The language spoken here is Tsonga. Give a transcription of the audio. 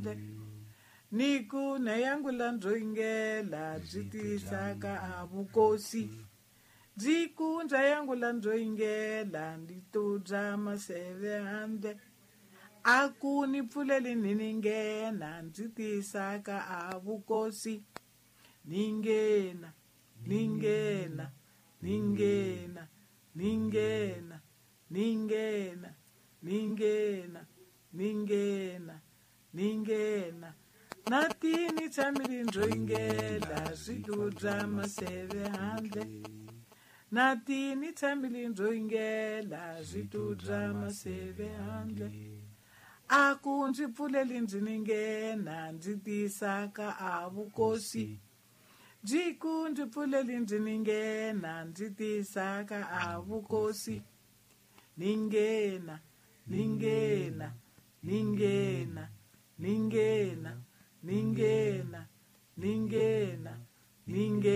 handle. Ni ku na yangula ndzo yingela byi tisaka a vukosi. Byi ku ndza yangula ndzo yingela ndzi tubya maseve handle. A ku ni pfuleli ni ni nghena ndzi tisaka a vukosi. Ni nghena, ni nghena, ni nghena, ni nghena, ni nghena, ni nghena, ni nghena, ni nghena. Na tini tshamile ndzo yingela swi tubya maseve handle. Na tini tshamile ndzo yingela swi tubya maseve handle. A ku ndzi pfuleli ndzi ni nghena ndzi tisaka a vukosi. Byi ku ndzi pfuleli ndzi ni nghena ndzi tisaka a vukosi. Ni nghena, ni nghena, ni nghena, ni nghena, ni nghena, ni nghena, ni nghena.